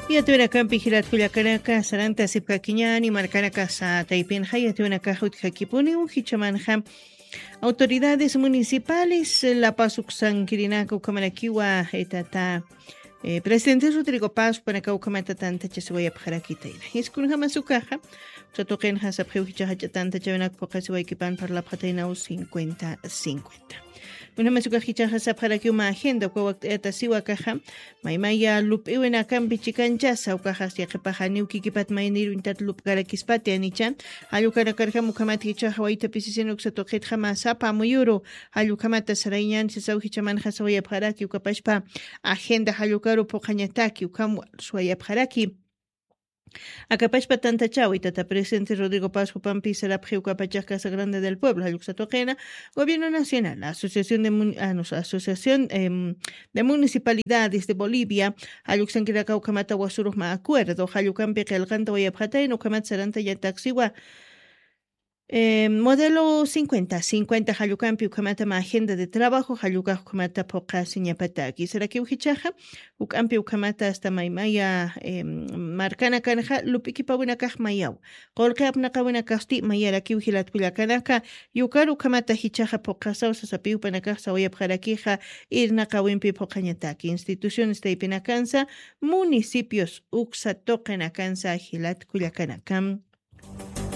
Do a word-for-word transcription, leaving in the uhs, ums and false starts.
Yatwirakampi jilatkullakanaka sarantasipkakiñani markanakasa taypinxa yatwinakax utjakipuni ujichamanxa. Autoridades municipales lapasuksankirinaka ukhamarakiwa etata. Presidente Rodrigo Paz panaka ukhamata tantachasiwayapxarakitayna iskunjamasukaxa. Satuqinxa sapxiw jichaxacha tantachawinaka puqasiwaykipan parlapxataynaw cincuenta cincuenta. Unamasukaq jichaxa sapxarakiw mä agenda uka wakt'ayata siwakaxa. Maymaya lup'iwinakampi chikanchasa ukaxas yaqipaxa niw kikipat maynir uñtat lup'karakispati anicha. Jallukanakarjam ukhamat jichaxa waytapisisin uksa tuqitxa mä sapa amuyuru. Jallukhamata sarayñan sisaw jichamanxa sawayapxaraki ukapashpa agenda jallukaru phuqhañataki ukham suwayapxaraki. Akapashpa tantachawi tata presidente Rodrigo Paz jupampi sarapxi ukapachax Casa Grande del Pueblo jalluksa tuqina, Gobierno Nacional, Asociación de Mun- ah, no, Asociación em, de Municipalidades de Bolivia, jalluksankiraka ukhamata wasurux mä acuerdo jallukampi qillqanta wayapxatayna ukhamata sarantañataksiwa. Modelo cincuenta cincuenta jallukampi ukhamatama agenda de trabajo jallukax ukhamata phuqhasiñapataki sarakiw jichaxa. Uk'ampi ukhamata asta maymaya markanakanxa lup'ikipawinakax mayaw. Qulqi apnaqawinakasti mayarakiw jilatkullakanaka. Yukar ukhamata jichaxa phuqhasaw sasapiw panakax sawayapxarakixa. Irnaqawimpi phuqhañataki instituciones taypinakansa municipios uksa tuqinakansa jilatkullakanaka.